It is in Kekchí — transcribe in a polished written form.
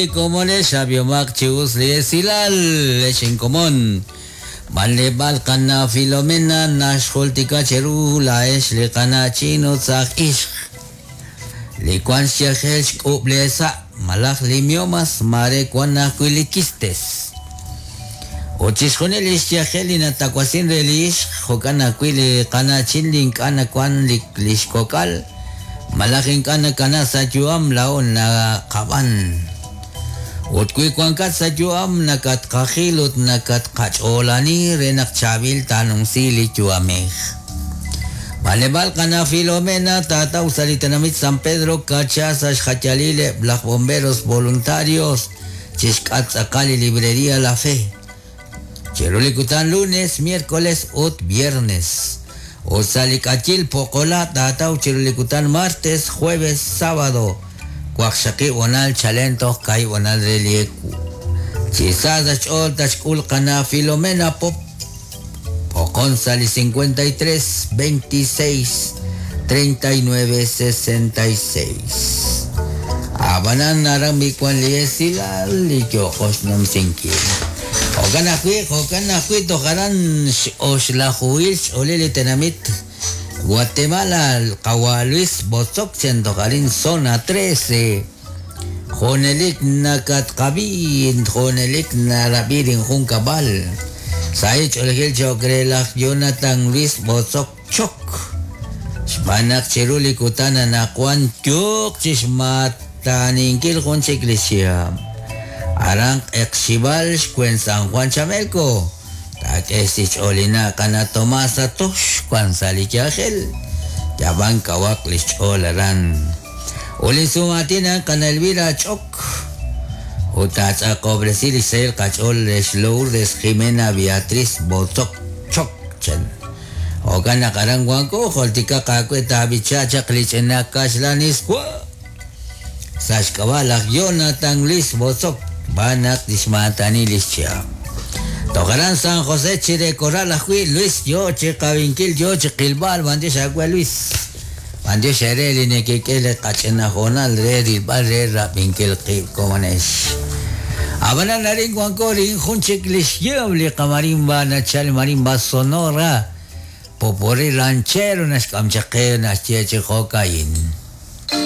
Komonex ab'ihomaq chi us li esilal, ex inkomon. B'anleb'aal qana' Filomena naxjultika cheru laa'ex li qana'chin ut saaj ixq. Li wank xyajel xk'ub' leesa' malaj li miomas maare wank ajwi' li quistes. Ut chixjunil li xyajel li natawasin re li ixq, jo'kan ajwi' li qana'chin li ink'a' nawank li xkok'al, Malaj ink'a' nakana sa' yu'am laa'o naqab'an. Ut wi wankat sa' yu'am nakatqajil ut nakatqach'oolani re naq chaab'il taanumsi li yu'amej. B'anleb'aal qana' Filomena taataw sa' li tenamit San Pedro Cacha sa' xjayalil eb' laj Bomberos Voluntarios chi xk'atq tz'aqal li Librería La Fe. Chiru li kutan lunes, miércoles ut viernes. Ut sa' li k'ayil Poqola taataw chiru li kutan martes, jueves, sábado, waqxaqib' honal chalen toj kaahib' honal re li ewu. Chi sa sa' xch'ool tatxk'ul qana' Filomena Pop Poqon sa' li 53 26 39 66. Ab'anan aran b'i wan li esilal li yooqo xnumsinkil. Jo'kan ajwi', jo'kan ajwi' toj aran x'oxlajuhil xch'oolil li tenamit Guatemala, qawa' Luis Botzoc chen toj arin Zona 13. Junelik nakatqab'i, junelik narab'i linjunkab'al. Sahil ch'oolejil cho'q re laj Jonathan Luis Botzoc Choc. Xb'aan naq chiru li kutan anaqwan yooq chi xmaataninkil jun chik li xchihab'. Aran Q'eqxib'al xwen San Juan Chamelco. Taak'e xch'oolina qana' Tomasa Tox wan sa' li yajel. Yab'an kawaq li xch'ool aran. Ut li sum'aatin a'an qana' Elvira Ch'ok. Ut taatz'aqob'resi li xsahil qach'ool re xLourdes Jimena Beatriz Botzoc Choc chan. Jo'kan naq aran wanko, jultikaq aawe taab'icha chaq li ch'ina kaxlan iswa' sa' xk'ab'a' laj Jonathan Luis Botzoc xb'aan naq tixmaatani li xchihab'. Toj aran San José chire Corral ajwi' Luis yo chi qawinkil yo chi qilb'al b'antiox aawe Luis. B'antiox eere li nekek'e li qach'ina hoonal re rilb'al re rab'inkil qib' komonex. Ab'anan arin wanko rik'in jun chik li xyehom li qamarimba nachal marimba sonora, popurrí ranchero naxk'am chaq qe naxye chi jo'ka'in.